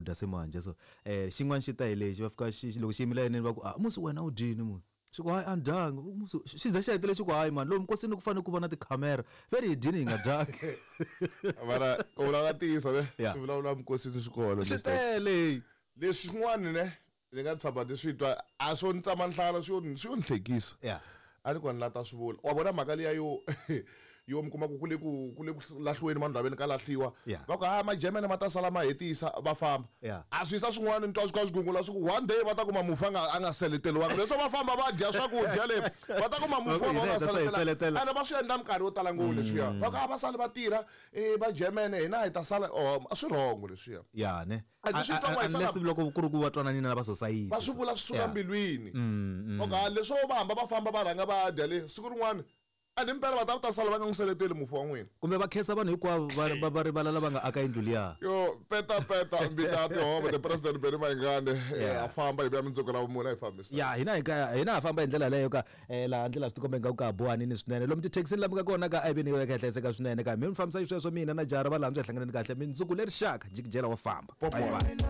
Dya se manje so xin'wana xi ta hi lexi va fika xi loko xi yimile layinini va ku a musi wena u dyini munhu xi ku hayi a ni dyanga musi xi ze xi hetele xi ku hayi mani lomu nkosini ku fanele ku va na tikhamera ve ri hi dyini hi nga dyangi. Mara ku vulavula ntiyiso ne Yeah. swi vulavula minkosini swi kona Swi Mr. X. tele. Leswi swin'wana ne ni nga tshama ni swi twa a swo ni tsama nhlana swi yo swi yo ni hlekisa. Yeah. A ni kona la ta swi vula wa vona mhaka liya yo yo mi kuma ku ku le ku ku le ku lahliweni mandlwaveni ka lahliwa Yeah. va ku ha majemene ma ta sala ma hetisa va famba Yeah. a swi yisa swin'wana ni twa swi kha swi gungula swi ku one day va ta kuma mufi a nga a nga seleteriwanga leswo va famba va dya swakudya le va ta kuma mufi Va ku va hina nga hi ta sa hi seletela seletela. ene va swi endla minkarhi yo tala ngopfu leswiya va ku a va sali va tirha va jemene hina hi ta sala oh a swi wrong leswiya Ya ne. A ti swi twa ku Unless va loko ku ri ku va twananile na va society. va swi vula swi suka Yeah. mbilwini okay leswo va hamba va famba va rhanga va dya le siku rin'wana a ni mpela va ta ta sala va nga n'wi seleteli mufi wa n'wina. Kumbe va khensa vanhu hinkwavo va va va rivala lava nga aka yindlu liya. Yo peta peta mbita ya tihove the president Benny Mayengani Yeah. a famba hi vuya mundzuku ra vumune a hi fambisa. Ya hina hi ka hina ha famba hi ndlela yaleyo ka laha ndlela swi tikomba ingaku ka ha bohanini swinene lomu tithekisini lama nga kona ka a hi veni yi ka hlayiseka swinene ka mi mi fambisa xisweswo mina na jara va laha ndzi hlanganeni kahle mindzuku leri xaka jikijela wa famba. Popcorn. Bye bye.